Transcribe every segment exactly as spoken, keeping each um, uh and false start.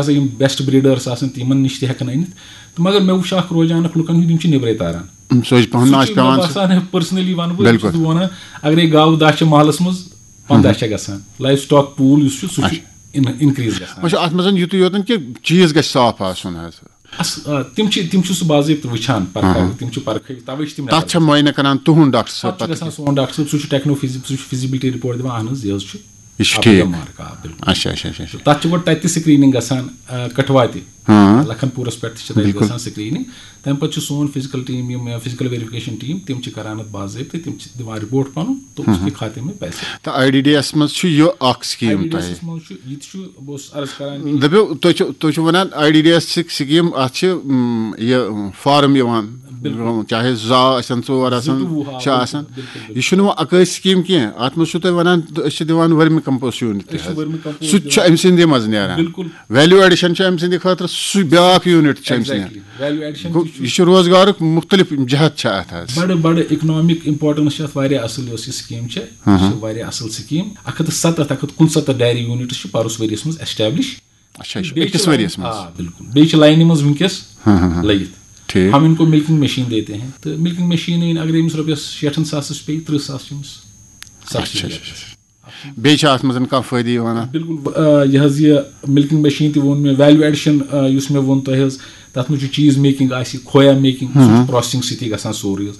ہسا یِم best breeders آسان، تِمن نِش تہِ ہٮ۪کان أنِتھ۔ تہٕ مگر مےٚ وٕچھ اکھ رُجحان اکھ لُکن ہُنٛد، یِم چھِ نیبرے تاران۔ سُہ چھِ پَہَن سُہ ناش چھُ مےٚ پٮ۪وان۔ باسان، پٔرسنلی وَنہٕ بہٕ، بِلکُل۔ چھُس بہٕ وَنان، اگرے گاوٕ دَہ چھِ محلَس منٛز، پنٛداہ چھےٚ گژھان۔ لایف سٹاک پوٗل یُس چھُ، سُہ چھُ اِن-، اِنکریٖز گژھان۔ وۄنۍ چھُ اَتھ منٛز یُتُے یوت کہِ چیٖز گژھِ صاف آسُن حظ۔ اَس-، آ، تِم چھِ، تِم چھِ سُہ باضٲبطہٕ وٕچھان، پَرکھان، آہا۔ تِم چھِ پَرکھٲوِتھ، تَوَے چھِ تِم تَتھ چھا معاینہٕ کران تُہُنٛد ڈاکٹر صٲب پَتہٕ چھُ پَتہٕ؟ گژھان سون ڈاکٹر صٲب، سُہ چھُ ٹیکنو فِزِ-، سُہ چھُ فِزِبِلٹی رِپورٹ دِوان، اَہَن حظ، یہِ حظ چھُ یہِ چھُ up ٹھیٖک۔ to mark، آ، بِلکُل۔ اچھا اچھا اچھا اچھا۔ تَتھ چھِ گۄڈٕ تَتہِ تہِ سکریننگ گژھان، آ، کٹھوا تہِ۔ ہاں۔ لکھن پوٗرَس پٮ۪ٹھ تہِ چھِ تَتہِ بِلکُل۔ گژھان سکریننگ۔ تَمہِ پَتہٕ چھُ سون فِزِکَل ٹیٖم، یِم فِزِکَل ویریفِکیشن ٹیٖم، تِم چھِ کران اَتھ باضٲبطہٕ، تِم چھِ دِوان رِپورٹ پَنُن، تو اس کے کھاتے میں پیسے۔ تہٕ آی ڈی ڈی ایس منٛز چھُ یہِ اکھ سکیٖم آی ڈی ڈی تۄہہِ۔ ایسَس منٛز چھُ، یہِ تہِ چھُ، بہٕ اوسُس عرض کران کہِ دٔپِو، تُہۍ چھِو، تُہۍ چھِو وَنان I D D S scheme, اَتھ چھِ، م، یہِ فارم یِوان، بِلکُل۔ چاہے زٕ آسن، ژور آسن، زٕ تہٕ وُہ، آ، شےٚ بِلکُل، آسن۔ بِلکُل، بِلکُل۔ یہِ چھُنہٕ وۄنۍ اَکٲے سکیٖم کینٛہہ، اَتھ منٛز چھُو تۄہہِ وَنان، أسۍ چھِ دِوان ؤرمہِ کمپوسٹ یوٗنٹ تہِ أسۍ چھِ حظ۔ ؤرمہِ کمپوسٹ سُہ تہِ چھُ دِوان۔ أمۍ سٕنٛدِ منٛز نیران۔ بِلکُل۔ ویلیو ایڈیشن چھُ أمۍ سٕنٛدِ خٲطرٕ سُہ بیٛاکھ یوٗنٹ چھُ أمۍ سٕنٛدِ۔ Exactly۔ ویلیو ایڈیشن گوٚو، تہِ چھُ۔ یہِ چھُ روزگارُک مُختٔلِف جہت چھِ اَتھ حظ۔ بڑٕ بڑٕ اکنامک امپورٹنس چھِ اتھ واریاہ اصل، یۄس یہِ سکیٖم چھِ، یہِ چھِ واریاہ اصل سکیٖم۔ اکھ ہتھ تہٕ ستتھ، اکھ ہتھ کُنستتھ ڈیری یونٹس چھِ پروس ؤریس منٛز ایسٹیبلش۔ اچھا، اچھا، بیٚیہِ چھِ أکِس ؤریس منٛز۔ آ، بِلکُل۔ بیٚیہِ چھِ لاینہِ منٛز وٕنکیٚس ہاں، ہاں، ہاں۔ لٔگِتھ۔ ٹھیٖک۔ ہم ان کو ملکنگ مشین دیتے ہیں۔ تہٕ ملکنگ مشین اگر أمِس رۄپیس شیٹھن ساسس پیٚیہِ، ترٕٛہ ساس چھِ أمِس سبسڈی اچھا، اچھا، دِوان۔ اچھا۔ بیٚیہِ چھا اَتھ منٛز کانٛہہ فٲیدٕ یِوان اَتھ؟ بِلکُل۔ آ، یہِ حظ یہِ ملکنگ مشین تہِ ووٚن مےٚ، ویلیو ایڈیشن، آ، یُس مےٚ ووٚن تۄہہِ حظ، تَتھ منٛز چھُ چیٖز میکِنگ آسہِ، کھویا میکِنگ، سُہ چھُ پروسیسنگ سۭتی گژھان سورُے حظ۔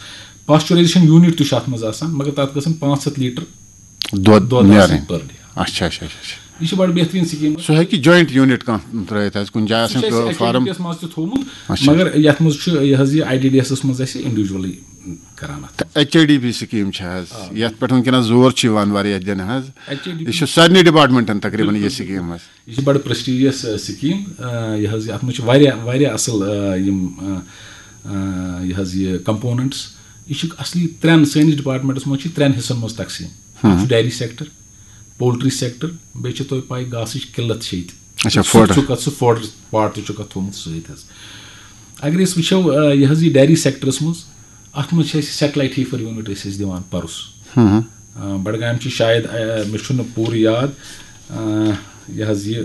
پاسچرایزیشن یوٗنٹ تہِ چھُ اَتھ منٛز آسان، مگر تَتھ گژھن پانٛژھ ہَتھ لیٖٹر دۄد دۄد نیرٕنۍ۔ آسان per day۔ اچھا، اچھا، اچھا، اچھا۔ یہِ چھِ بڑٕ بہتریٖن سکیٖم۔ سُہ ہیٚکہِ جوینٹ یوٗنٹ کانٛہہ ترٲیِتھ حظ، کُنہِ جایہِ سُہ چھُ آسان اَسہِ فارم۔ ایکٹیویٹیٖز منٛز تہِ تھوٚومُت، اچھا۔ مگر یَتھ منٛز چھُ یہِ حظ یہِ آی ڈی ڈی ایسَس منٛز اَسہِ انڈیویجولی کران اَتھ۔ H I D P scheme چھِ حظ، یَتھ پٮ۪ٹھ وٕنکیٚنَس زور چھُ یِوان واریاہ دِنہٕ حظ۔ H I D P. یہِ چھُ سارنٕے ڈپارٹمنٹن تقریٖباً یہِ بِلکُل، سکیٖم حظ۔ یہِ چھِ بڑٕ پرسٹیجیس سکیٖم۔ آ، یہِ حظ یہِ، اَتھ منٛز چھِ واریاہ، واریاہ اَصٕل، آ، یِم، آ، آ، یہِ حظ یہِ کمپوننٹس۔ یہِ چھِ اَصلی ترٛٮ۪ن، سٲنِس ڈپارٹمنٹس منٛز چھِ ترٛٮ۪ن حصن منٛز تقسیٖم۔ اَکھ چھُ ڈیری سیکٹر، پولٹری سیکٹر، بیٚیہِ چھِ تۄہہِ پَے گاسٕچ قلت چھِ ییٚتہِ۔ اچھا، سُہ فوڈ۔ چھُکھ اَتھ، سُہ فوڈ پارٹ تہِ چھُکھ اَتھ تھوٚومُت سۭتۍ حظ۔ اگر أسۍ وٕچھو، آ، یہِ حظ یہِ ڈیری سیکٹرس منٛز، اَتھ منٛز چھِ اَسہِ سیٹلایٹ ہیٖفر یوٗنٹ أسۍ ٲسۍ دِوان پَرُس۔ آ، بڈگامہِ چھِ شاید، آ، مےٚ چھُنہٕ پوٗرٕ یاد، آ، یہِ حظ یہِ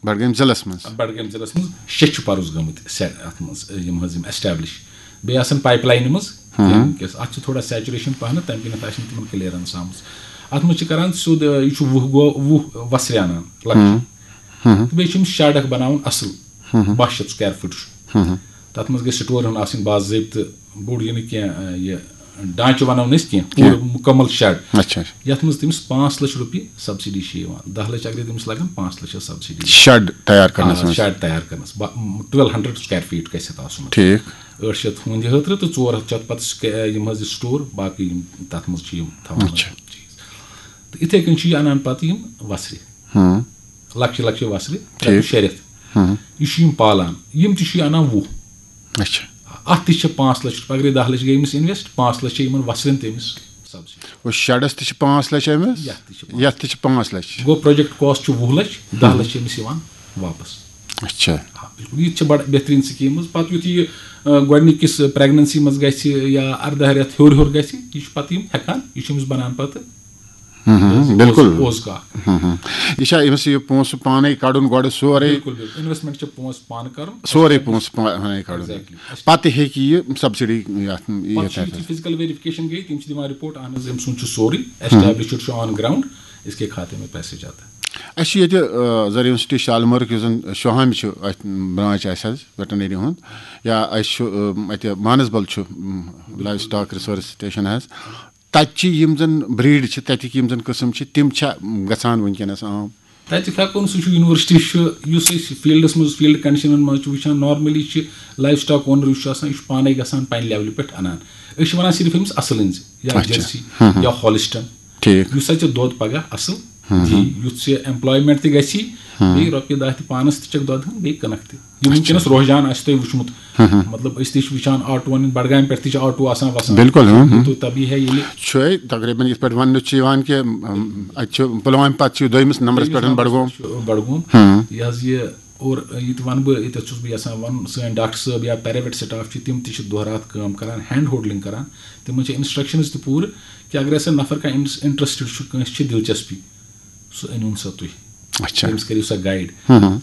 بڈگٲمۍ ضلعس منٛز۔ بڈگٲمۍ ضلعس منٛز شےٚ چھِ پَرُس گٔمٕتۍ سیٹ اَتھ منٛز، یِم حظ یِم ایسٹیبلش۔ بیٚیہِ آسَن پایپ لاینہِ منٛز، وٕنکیٚس اَتھ چھِ تھوڑا سیچوریشن پَہنَتھ، تَمہِ کِنٮ۪تھ آسہِ نہٕ تِمن کلیئرنس آمٕژ۔ اَتھ منٛز چھِ کران سیوٚد، آ، یہِ چھُ وُہ گوٚو، وُہ وَسرِ اَنان لۄکچہِ۔ تہٕ بیٚیہِ چھِ یِم شیڈ اکھ بَناوُن اَصٕل، باہ شیٚتھ سکویر فُٹ چھُ۔ تَتھ منٛز گژھِ سٹورن ہُنٛد آسٕنۍ باضٲبطہٕ، بوٚڑ یہِ نہٕ کینٛہہ، آ، یہِ ڈانچہٕ وَنو نہٕ أسۍ کینٛہہ، پوٗرٕ مُکمل شیڈ۔ اچھا۔ یَتھ منٛز تٔمِس پانٛژھ لَچھ رۄپیہِ سبسڈی چھِ یِوان، دَہ لَچھ اگرے تٔمِس لَگَن، پانٛژھ لَچھ چھِ سبسڈی۔ شیڈ تیار کرنس آ، منٛز۔ شیڈ تیار کرنس، با-، twelve hundred square feet گژھِ اَتھ آسُن۔ ٹھیٖک۔ ٲٹھ شیٚتھ ہُنٛد یہِ ہٲترٕ تہٕ ژور ہَتھ چھِ اَتھ پَتہٕ سکے-، یِم حظ یہِ سٹور، باقٕے یِم تَتھ منٛز چھِ یِم تھاوان اچھا۔ چیٖز۔ تہٕ یِتھَے کٔنۍ چھِ یہِ اَنان پَتہٕ یِم وَسرِ، ہاں۔ لۄکچہِ لۄکچہِ وَسرِ، ٹھیٖک۔ شےٚ رٮ۪تھ۔ ہاں۔ یہِ چھُ یِم پالان، یِم تہِ چھِ یہِ اَنان وُہ۔ اچھا۔ اَتھ تہِ چھِ پانٛژھ لَچھ رۄپیہِ، اگرے دَہ لَچھ گٔے أمِس اِنویسٹ، پانٛژھ لَچھ چھِ یِمَن وَسرٮ۪ن تہِ أمِس سبسڈی۔ گوٚو شیڈس تہِ چھِ پانٛژھ لَچھ أمِس، یَتھ تہِ چھِ پانٛژھ۔ یَتھ تہِ چھِ پانٛژھ لَچھ۔ گوٚو پروجیکٹ کاسٹ چھُ وُہ لَچھ، دَہ لَچھ چھِ أمِس یِوان واپَس۔ اچھا۔ آ، بِلکُل۔ یہِ تہِ چھِ بَڑٕ بہتریٖن سکیٖم حظ۔ پَتہٕ یُتھ یہِ، آ، گۄڈٕنِکِس پریگننسی منٛز گژھِ یا اَرداہ رٮ۪تھ ہیوٚر ہیوٚر گژھِ، یہِ چھُ پَتہٕ یِم ہٮ۪کان، یہِ چھُ أمِس بَنان پَتہٕ ہم، ہم، بِلکُل۔ پوز کَتھ۔ ہم، ہم۔ یہِ چھا أمِس یہِ پونٛسہٕ پانے کَڑُن گۄڈٕ سورُے؟ بِلکُل، بِلکُل۔ اِنویسٹمنٹ چھِ پونٛسہٕ پانہٕ کَرُن۔ سورُے پونٛسہٕ پانے کَڑُن۔ Exactly۔ پَتہٕ ہیٚکہِ یہِ سبسڈی یَتھ، پَتہٕ یَتھ چھُ یُتھُے حظ۔ فزیکل ویریفکیشن گٔے، تِم چھِ دِوان رِپورٹ، اہن حظ، أمۍ سُنٛد چھُ سورُے ایسٹیبلشڈ، چھُ آن گراؤنڈ، اس کے کھاتے میں پیسے جاتا ہے۔ اَسہِ چھُ ییٚتہِ، آ، زر یونیورسٹی شالمٲرٕک، یُس زَن شوہامہِ چھُ اَتھ برانچ اَسہِ حظ ویٹرنری ہُنٛد، یا اَسہِ چھُ، آ، اَتہِ مانسبل چھُ، م، لایِو سٹاک ریسورس سٹیشن حظ۔ تَتہِ چھِ یِم زَن بریٖڈ چھِ، تَتِکۍ یِم زَن قٕسم چھِ، تِم چھا گژھان وٕنکیٚنَس عام؟ تَتہِ ہٮ۪کو نہٕ، سُہ چھُ یونیورسٹی چھُ، یُس أسۍ فیٖلڈَس منٛز، فیٖلڈ کنڈیشنَن منٛز چھُ وٕچھان، نارملی چھِ لایِو سٹاک اونر یُس چھُ آسان، یہِ چھُ پانَے گژھان پنٛنہِ لیولہِ پٮ۪ٹھ اَنان۔ أسۍ چھِ وَنان صرف أمِس اَصٕل أنۍ زِ، یا اچھا۔ جٔرسی، یا ہالسٹن۔ ٹھیٖک۔ یُس اَتہِ ژےٚ دۄد پَگاہ اَصٕل دی، یُتھ ژےٚ ایمپلایمنٹ تہِ گژھی، بیٚیہِ رۄپیہِ دَہ تہِ پانَس تہِ چھَکھ دۄدٕ ہٕن، بیٚیہِ کٕنَکھ تہِ۔ یِم وٕنکیٚنَس رُحجان آسہِ تۄہہِ وٕچھمُت، مطلب، أسۍ تہِ چھِ وٕچھان آٹوٗوَن ہِنٛدۍ، بڈگامہِ پٮ۪ٹھ تہِ چھِ آٹوٗ آسان وَسان۔ بِلکُل، ہُم، ہُم۔ تو تبھی ہے ییٚلہِ چھُ تقریٖباً یِتھ پٲٹھۍ وَننہٕ چھُ یِوان کہِ، اَم، اَتہِ چھُ پُلوامہِ پَتہٕ چھُ دوٚیمِس نمبرَس پٮ۪ٹھ بڈگوم۔ چھُ بڈگوم۔ ہُم۔ یہِ حظ یہِ، اور یہِ تہِ وَنہٕ بہٕ، ییٚتٮ۪تھ چھُس بہٕ یَژھان وَنُن، سٲنۍ ڈاکٹر صٲب یا پیراویٹ سٹاف چھِ، تِم تہِ چھِ دۄہ راتھ کٲم کَران، ہینڈ ہولڈنگ کَران۔ تِمَن چھِ انسٹرکشنز تہِ پوٗرٕ کہِ اگر ہسا نفر کانٛہہ اِنٹرسٹڈ چھُ، کٲنٛسہِ چھِ دِلچسپی، سُہ أنِوُن سا تُہۍ۔ اچھا۔ تٔمِس کٔرِو سا گایڈ۔ ہُم، ہُم۔